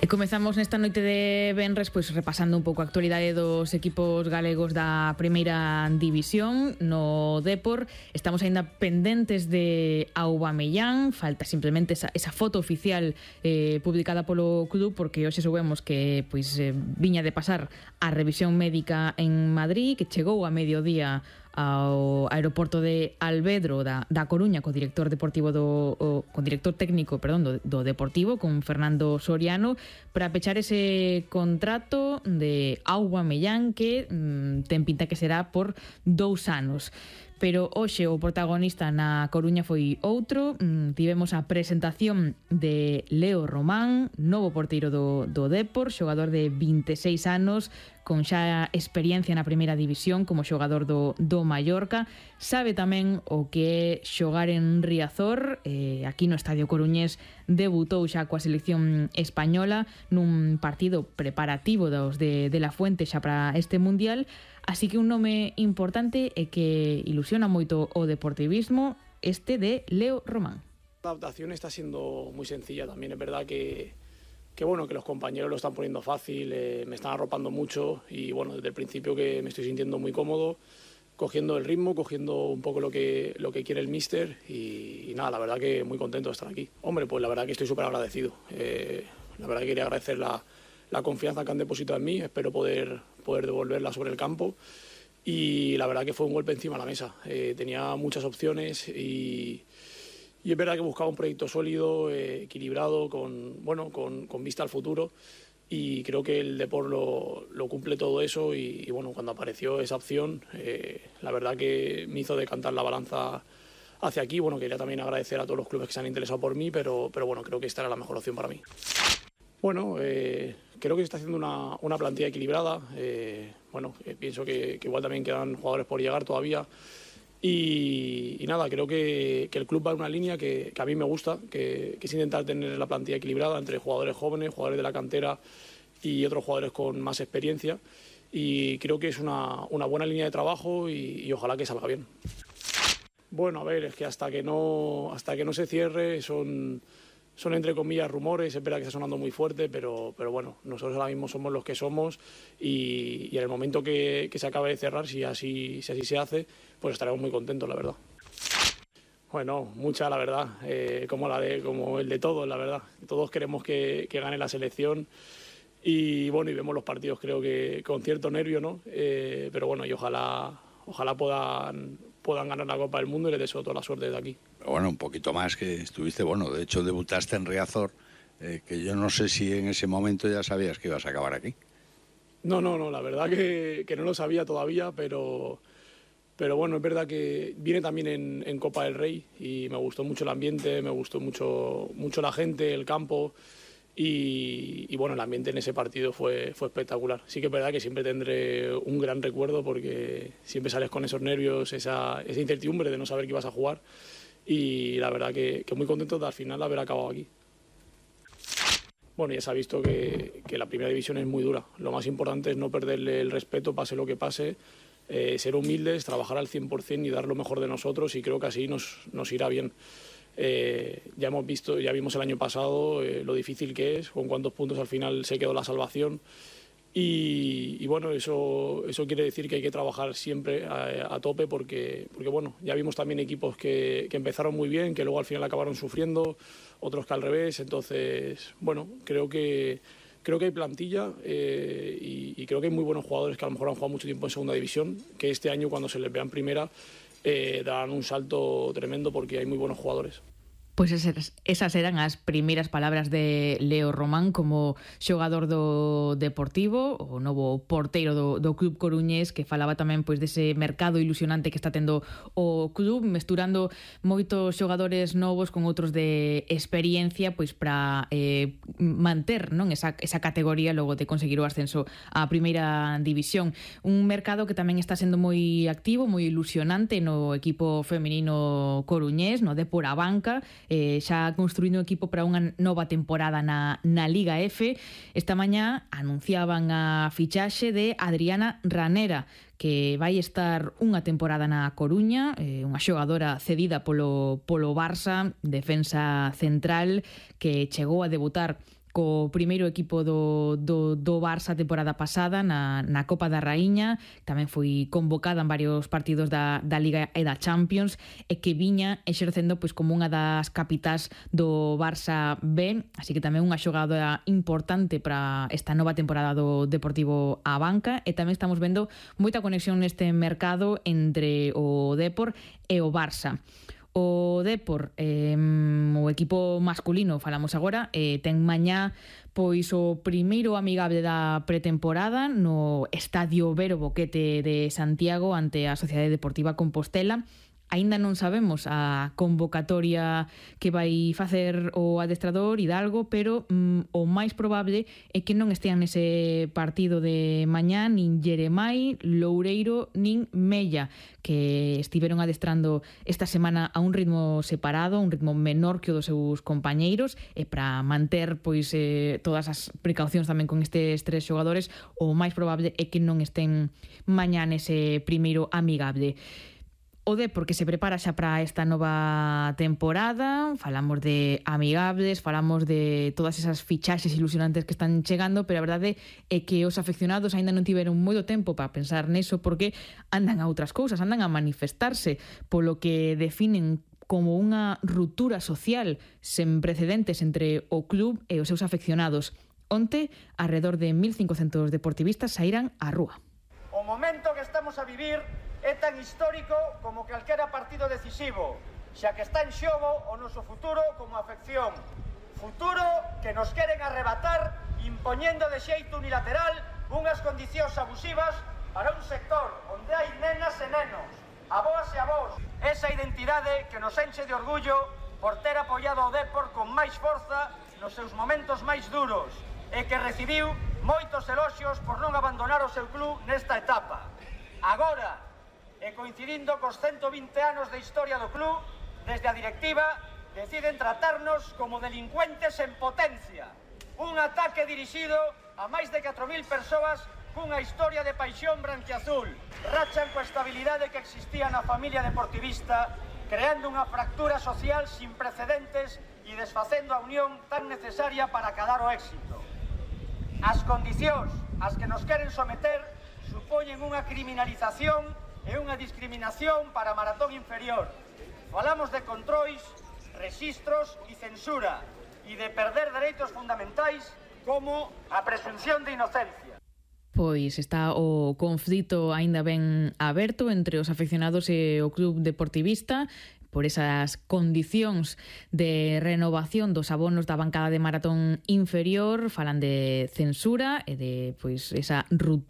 E comezamos nesta noite de venres pois repasando un pouco a actualidade dos equipos galegos da primeira división. No Depor estamos aínda pendentes de Aubameyang, falta simplemente esa foto oficial publicada polo club, porque hoxe soubemos que pois viña de pasar a revisión médica en Madrid, que chegou a mediodía ao aeroporto de Alvedro da Coruña co director deportivo con director técnico, perdón, do Deportivo, con Fernando Soriano, para pechar ese contrato de Aubameyang que ten pinta que será por 2 anos. Pero hoxe o protagonista na Coruña foi outro. Tivemos a presentación de Leo Román, novo porteiro do Depor, xogador de 26 anos, con xa experiencia na primeira división como xogador do Mallorca. Sabe tamén o que é xogar en Riazor. Aquí no Estadio Coruñés debutou xa coa selección española nun partido preparativo dos de La Fuente xa para este Mundial. Así que un nome importante e que ilusiona moito o deportivismo, este de Leo Román. La adaptación está siendo muy sencilla también. Es verdad que bueno, que los compañeros lo están poniendo fácil, me están arropando mucho y bueno, desde el principio que me estoy sintiendo muy cómodo, cogiendo el ritmo, cogiendo un poco lo que quiere el míster y nada, la verdad que muy contento de estar aquí. Hombre, pues la verdad que estoy súper agradecido. La verdad que quería agradecer la confianza que han depositado en mí, espero poder devolverla sobre el campo y la verdad que fue un golpe encima de la mesa. Tenía muchas opciones y es verdad que buscaba un proyecto sólido, equilibrado, con vista al futuro y creo que el Depor lo cumple todo eso y bueno, cuando apareció esa opción, la verdad que me hizo decantar la balanza hacia aquí. Bueno, quería también agradecer a todos los clubes que se han interesado por mí, pero bueno, creo que esta era la mejor opción para mí. Bueno, creo que se está haciendo una plantilla equilibrada. Pienso que igual también quedan jugadores por llegar todavía. Y nada, creo que el club va en una línea que a mí me gusta, que es intentar tener la plantilla equilibrada entre jugadores jóvenes, jugadores de la cantera y otros jugadores con más experiencia. Y creo que es una buena línea de trabajo y ojalá que salga bien. Bueno, a ver, es que hasta que no se cierre son entre comillas rumores. Es verdad que está sonando muy fuerte, pero bueno, nosotros ahora mismo somos los que somos y en el momento que se acabe de cerrar, si así se hace, pues estaremos muy contentos, la verdad. Bueno, mucha, la verdad, como el de todos, la verdad. Todos queremos que gane la selección y bueno, y vemos los partidos creo que con cierto nervio, ¿no? Pero bueno, y ojalá puedan ganar la Copa del Mundo y les deseo toda la suerte desde aquí. Bueno, un poquito más que estuviste, de hecho debutaste en Riazor, que yo no sé si en ese momento ya sabías que ibas a acabar aquí. No, la verdad que no lo sabía todavía, pero bueno, es verdad que viene también en Copa del Rey y me gustó mucho el ambiente, me gustó mucho la gente, el campo y bueno, el ambiente en ese partido fue espectacular. Sí que es verdad que siempre tendré un gran recuerdo porque siempre sales con esos nervios, esa incertidumbre de no saber que ibas a jugar y la verdad que muy contento de al final haber acabado aquí. Bueno, ya se ha visto que la primera división es muy dura. Lo más importante es no perderle el respeto, pase lo que pase, ser humildes, trabajar al 100% y dar lo mejor de nosotros y creo que así nos irá bien. Ya vimos el año pasado lo difícil que es, con cuántos puntos al final se quedó la salvación y bueno, eso quiere decir que hay que trabajar siempre a tope porque bueno, ya vimos también equipos que empezaron muy bien, que luego al final acabaron sufriendo, otros que al revés, entonces bueno, creo que hay plantilla y creo que hay muy buenos jugadores que a lo mejor han jugado mucho tiempo en segunda división, que este año cuando se les vea en primera darán un salto tremendo porque hay muy buenos jugadores. Pois esas eran as primeiras palabras de Leo Román como xogador do Deportivo, o novo porteiro do club coruñés, que falaba tamén pois dese mercado ilusionante que está tendo o club, mesturando moitos xogadores novos con outros de experiencia pois para manter, non, esa categoría logo de conseguir o ascenso á primeira división. Un mercado que tamén está sendo moi activo, moi ilusionante no equipo feminino coruñés, no Depor a banca, xa construíndo un equipo para unha nova temporada na Liga F. Esta mañá anunciaban a fichaxe de Adriana Ranera, que vai estar unha temporada na Coruña, unha xogadora cedida polo Barça, defensa central, que chegou a debutar co primeiro equipo do Barça temporada pasada na Copa da Raíña, tamén foi convocada en varios partidos da Liga e da Champions, e que viña exercendo pois como unha das capitás do Barça B, así que tamén unha xogadora importante para esta nova temporada do Deportivo A Banca, e tamén estamos vendo moita conexión neste mercado entre o Depor e o Barça. O Depor, o equipo masculino, falamos agora, ten mañá pois o primeiro amigable da pretemporada no Estadio Vero Boquete de Santiago ante a Sociedade Deportiva Compostela. Aínda non sabemos a convocatoria que vai facer o adestrador Hidalgo, pero o máis probable é que non estean nese partido de mañá nin Jeremai, Loureiro, nin Mella, que estiveron adestrando esta semana a un ritmo separado, un ritmo menor que o dos seus compañeiros, e para manter pois todas as precaucións tamén con estes tres xogadores, o máis probable é que non estén mañá nese primeiro amigable. O Depor que se prepara xa para esta nova temporada, falamos de amigables, falamos de todas esas fichaxes ilusionantes que están chegando, pero a verdade é que os afeccionados aínda non tiveron moito tempo para pensar neso porque andan a outras cousas, andan a manifestarse polo que definen como unha ruptura social sen precedentes entre o club e os seus afeccionados. Onte, alrededor de 1.500 deportivistas saíran á rúa. O momento que estamos a vivir é tan histórico como calquera partido decisivo, xa que está en xogo o noso futuro como afección. Futuro que nos queren arrebatar impoñendo de xeito unilateral unhas condicións abusivas para un sector onde hai nenas e nenos, avós e avós. Esa identidade que nos enche de orgullo por ter apoiado o Depor con máis forza nos seus momentos máis duros e que recibiu moitos eloxios por non abandonar o seu club nesta etapa. Agora, e coincidindo cos 120 anos de historia do club, desde a directiva deciden tratarnos como delincuentes en potencia. Un ataque dirixido a máis de 4.000 persoas cunha historia de paixón branquiazul. Rachan coa estabilidade que existía na familia deportivista, creando unha fractura social sin precedentes e desfacendo a unión tan necesaria para acadar o éxito. As condicións ás que nos queren someter supoñen unha criminalización e unha discriminación para a maratón inferior. Falamos de controis, rexistros e censura e de perder dereitos fundamentais como a presunción de inocencia. Pois está o conflito aínda ben aberto entre os afeccionados e o club deportivista por esas condicións de renovación dos abonos da bancada de maratón inferior, falan de censura e de pois esa ruptura